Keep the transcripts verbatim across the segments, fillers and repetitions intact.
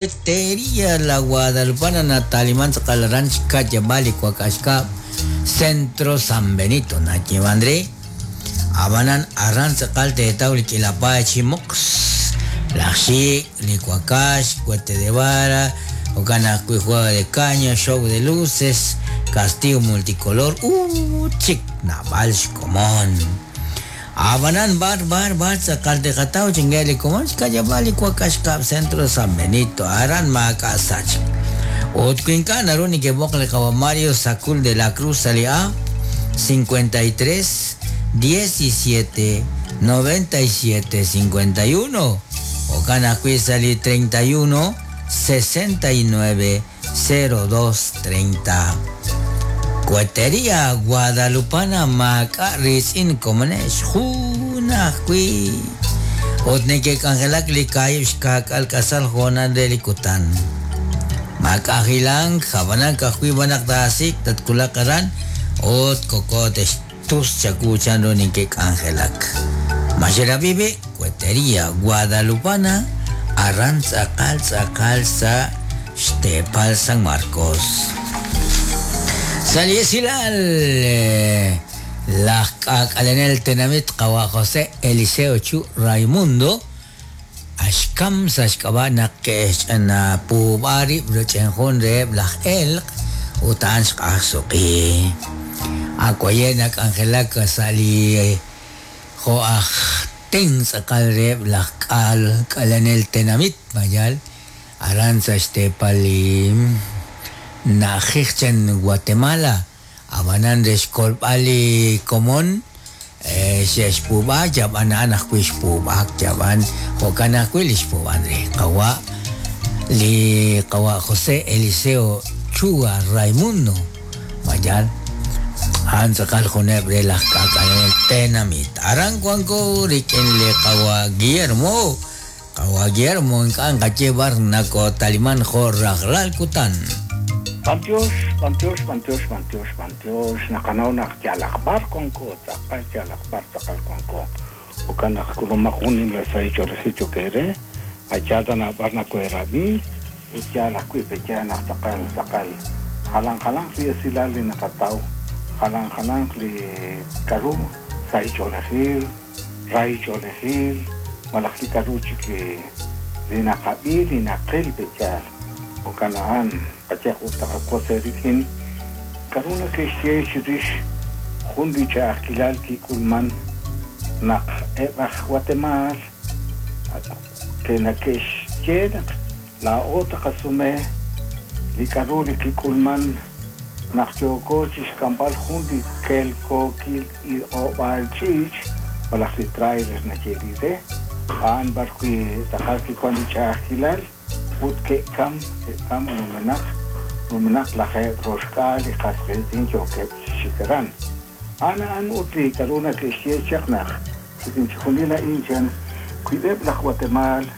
Teria la Guadalupana Natalimán Ranch Kayabali Cuacashka Centro San Benito Nachivandre Abanan Arranza Calte de Tauli Quilapa Chimox Laxi Licuacash Cuete de Vara Ocana Juega de Caña Show de Luces Castillo Multicolor Uh Chic Naval Comón Abanan bar bar bar Zacaltejatao chingeli comón Cayabali Cuacashka Centro San Benito Aran Macasach Otcuincán Aruni que Bocle Mario Sacul de la Cruz Alia cincuenta y tres diecisiete noventa y siete cincuenta y uno Ocana Cuizali treinta y uno sesenta y nueve cero dos treinta. Cuetería Guadalupana Macarris in Comunes Junakui Otneke Cangelak Likayushkak Alcazal Jonan de Licutan Macajilang Jabanan Cajuy Banak Dasik Tatkulakaran Ot Cocotes Tus Chacuchan Roninke Angelak Mayera Vive Cuetería Guadalupana Arranza Calza Calza Xtepal San Marcos. Saliesilal la Kalenel Tenamit Kawa José Eliseo Chu Raimundo Ashkam Sashkabana Kesh na Pubari Bruchenjun Reb Laj Elk Utan Shkasuki Akoyenak Angelaka Sali Joaj Tens Akal Reb Laj Kal Kalenel Tenamit Mayal Aranza Xtepali Najichen Guatemala Abanan Rexkolpali Komon Xexpuba Yaban Anakuixpuba Yaban Jokanakuilixpuban Kawa Li Kawa José Eliseo Chua Raimundo Mayal Anzakal Junebre Las Kakanel Tenamit Arancuanco Riquenle Kawa Guillermo Kawa Guillermo Nkankachebar Nako Talimán Jorrajlal Kutan. Bantiox, bantiox, bantiox, bantiox, bantiox, naqanaw naq yalaqbar konko, tzaqal yalaqbar tzaqal konko. Oka naq kulumajunin la saicho rejicho kere, achata na barna kuerabi, yalaqui pecha naq tzaqal tzaqal. Jalan jalan li esilal li naqataw, jalan jalan li karu, saicho lejil, raicho lejil, malaq li karu chiki li naqabi, li naqil pecha. Okanaan, Pachakutakakoserikin, Karuna Kishirish, Jundicha Akilal Kikulman, Nak Ebach Guatemala, Kenakesh Yenak, La Ota Kasume, Likaruri Kikulman, Nakyokochish Kambal Jundi Kelko Kil y Obalchich, Balachlitrailers Nacheride, An Barqui Tajaki Kwandicha Akilal. Utke kam kam numenak numenak laje roshkal y qasqin choke shikaran ana an utli karuna que xechaqnaq sikin chunila inchan cuideb la Guatemala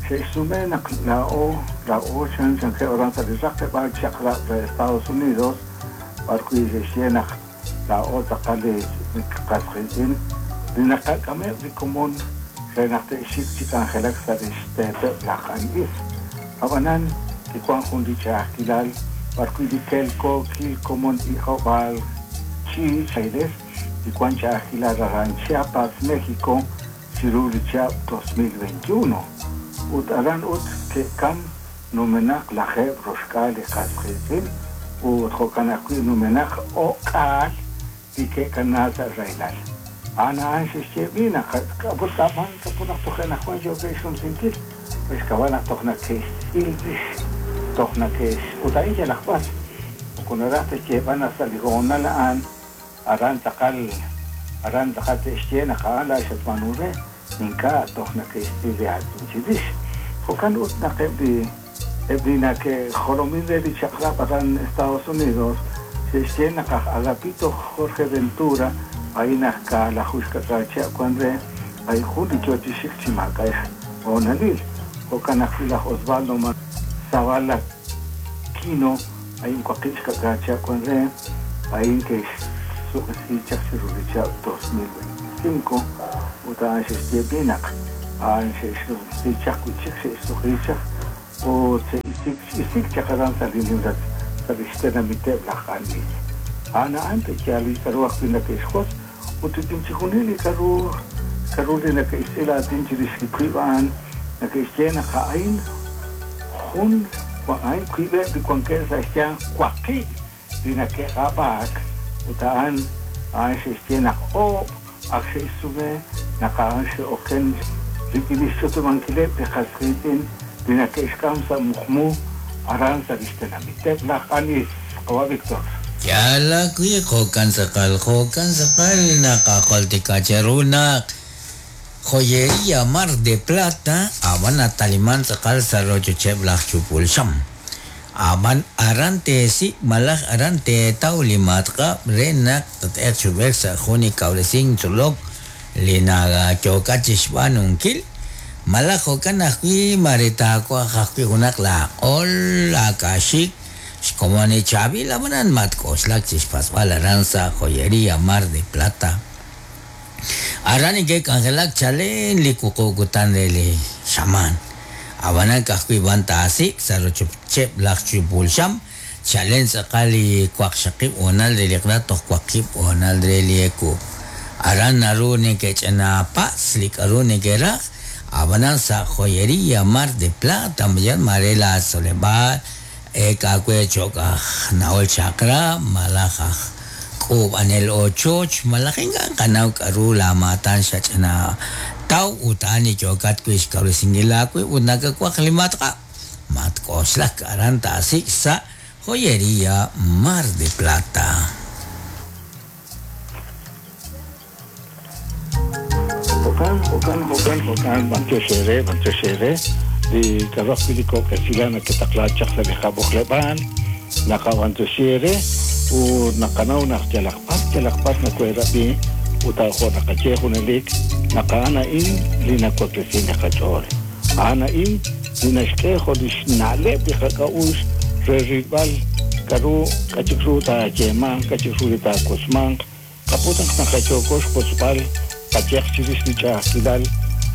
se sumenak la o la o chan chan que oranza de raqe ba chaqra de Estados Unidos barqui xenaq la o taqale qasqin dinaqaqame de común renaqte xik chikangelak sariste la qanis Abanan, que Juan Jundicha Aquilal, Barcuidiquelco, Quilcomón y Jobal, Chi, Chaides, y Juan Chaquilal Aran Chiapas, México, Cirulicha dos mil veintiuno. Ut Aran Ut, que Cam, Numenak, Laje, Roshkal, Casquetil, Ut Jokanakui, Numenak, Okal, y que Canasa Railal. Ana Anxis Chevina, Caputaman, Capunactojena, Juan Yogeishon Sintil. Pues cabana togna que ildish togna que utaiya las pas con oraste que van a salir con la an aran takal aran takal te la shatmanure ninka togna que istilia tinchidish jokan utna que bi ebina que jolomin de bichakra paran Estados Unidos se llena Agapito Jorge Ventura ahí nazca la jusca cacha cuando hay Juli chochishik chimaka onalil Ocanajila Osvaldo Zavala Quino, hay un cuaquisca cacha con re, ahí que su dos mil veinticinco, uta anxestiepinac, anxestichacuichik, Ut isik isik chaq aran sa' li nimla sa' li xtenamiteb' laj q'anis. A'an a'an te'yaal li k'a'ru ajwi' nake'xjos ut rik'in chixjunil li k'a'ru k'a'ru li nake'xtz'il aatin chirix li wiib' a'an nake'xye naq a'in jun a'in wiib'eb' li wankeb' sa' xyanq waqib' li nake'q'ab'aak ut a'an a'an xe'xye naq oob' ak xe'xsume naq a'an xe'oken rik'in li xch'utumankileb' li qas qiitz'in li nake'xk'am sa' muqmu aran sa' li xtenamiteb' laj q'anis. Qawa' Víctor. Yala wi jo'kan tz'aqal jo'kan tz'aqal naqajultika cheru naq Joyería Mar de Plata ab'an nataliman tz'aqal sa' rochocheb' laj chupul xam. Ab'an aran teesik' malaj aran teetaw li matq'ab' re naq tat'eq chub'ej sa' jun li kawresink tzolok li nayookat chixb'aanunkil malaj jo'kan ajwi' mare taawaj ajwi' junaq laaq'ol laakaaxik xkomon li chaab'il ab'anan matk'oxlak chixpatz'b'al aran sa' Joyería Mar de Plata. Aran neke'k'anjelak chalen li wuqub' kutan re li xamaan. Ab'anan ka'ajwi' b'an taasik' sa' rochocheb' laj chupul xam chalen tz'aqal li waqxaqib' hoonal re li q'la toj waqib' hoonal re li ewu. Aran naru neke'ch'ina patz' li k'a'ru neke'raj ab'anan sa' Joyería Mar de Plata mayan mare la tzoleb'aal ek'awe cho'q aj na'ol chaqra' malaj aj k'uub'anel ochoch malaj ink'a' qanaw k'a'ru laamaatan xach'ina taw ut a'an li yookat wi' xkawresinkil aawib' ut nakawaj li matq'ab' matk'oxlak aran taasik' sa' Joyería Mar de Plata. Jo'kan, jo'kan, jo'kan, jo'kan, b'antiox ere, b'antiox ere, li k'a'ru ajwi' li kok'esila naketaqla chaq sa' li qab'oqleb'aal, naqab'antioxi ere, ut naqanaw naq yalaq b'ar, yalaq b'ar nakoherab'i, ut jo' naqaye junelik, naq a'an a'in li nawaklesi li qach'ool. A'an a'in li naxk'e jo' li xna'leb' li qak'a'uxl re rilb'al k'a'ru k'achik ru taayeemanq, k'achik ru li taakosmanq, qaput naq naqayooko xkotzb'al qayeq chirix li ch'a'ajkilal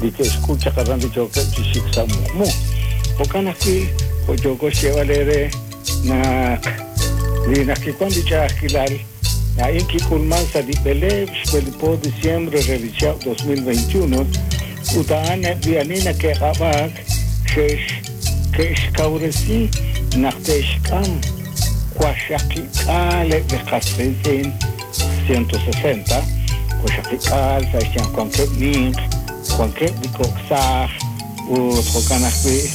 li ke'xk'ul chaq aran li yookeb' chi xik sa' muqmu. Jo'kan ajwi' jo' yooko xyeeb'al ere naq li naq kiwan li ch'a'ajkilal a'in kik'ulman sa' li b'eleeb' xb'ele diciembre re li chihab' dos mil veintiuno ut a'an eb' li ani nake'q'ab'aak xe'x ke'xkawresi naq te'xk'am waqxaqik'aal eb' li qas qiitz'in ciento sesenta waqxaqik'aal sa' xyanq wankeb' ninq wankeb' li kok' saaj ut jo'kan ajwi'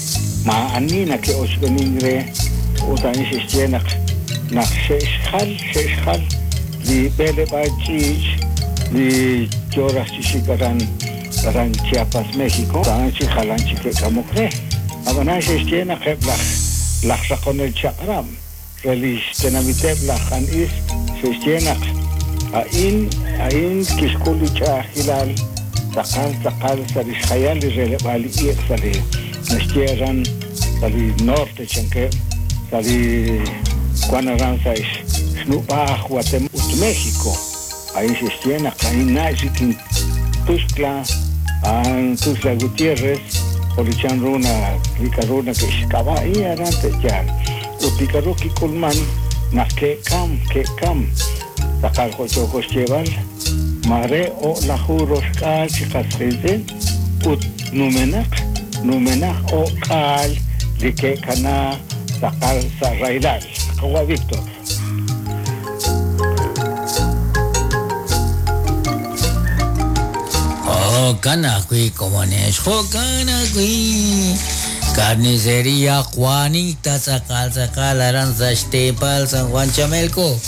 ma'ani nake'ochb'enin re ut a'in xe'xye naq naq xe'xjal xe'xjal li b'eleb'aal ch'iich' li yooraj chi xik aran aran Chiapas, México, a'an chi jalan chi ke'k'amok re. Ab'anan xe'xye naq eb' laj laj raqonel chaq'rab' re li xtenamiteb' laj q'anis xe'xye naq a'in a'in kixk'ul li ch'a'ajkilal tz'aqal tz'aqal sa' li xjayal li releb'aal li iq' sa' li naxye aran sa' li norte chankeb' sa' li wan aran sa' xnub'aaj Guatemala ut México. A'in xe'xye naq a'in na'x rik'in Tuxtla, a'an Tuxtla Gutiérrez, jo' li chan ru na li k'a'ru nake'xk'ab'a'i aran te'yaal. Ut li k'a'ru kik'ulman naq ke'kam ke'kam tz'aqal jo' yooko xyeeb'al mare o'laju roxk'aal chi qas qiitz'in ut numenaq numenaq o'k'aal li ke'kana tz'aqal sa' rahilal. Qawa' Víctor. Jo'kan ajwi' komonex, jo'kan ajwi' Carnicería Juanita tz'aqal tz'aqal aran sa' xteepal San Juan Chamelco.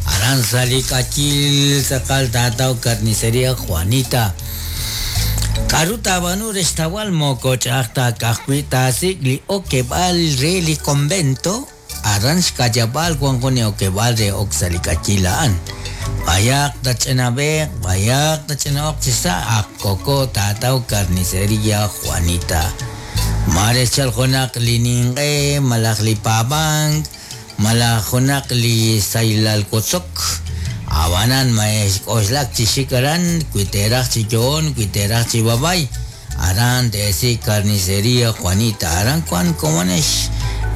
Aran sa' li k'achil tz'aqal taataw Carnicería Juanita. K'a'ru taab'aanu re xtawal moko ch'a'aj ta ka'ajwi' taasik' li okeb'aal re li convento aran xk'ayab'aal wan jun li okeb'aal re ok sa' li k'achil a'an. Bayaq tach'inab'eq, bayaq tach'ina'oq chi sa' ak koko taataw Carnicería Juanita. Mare xchal junaq li ninq'e, malaj li paab'ank, malaj junaq li saylal kotzok. Ab'anan ma xk'oxlak chi xik aran, wi teeraj chi yo'on, wi teeraj chi babay. Aran teesi carnicería Juanita. Aran kuan komonex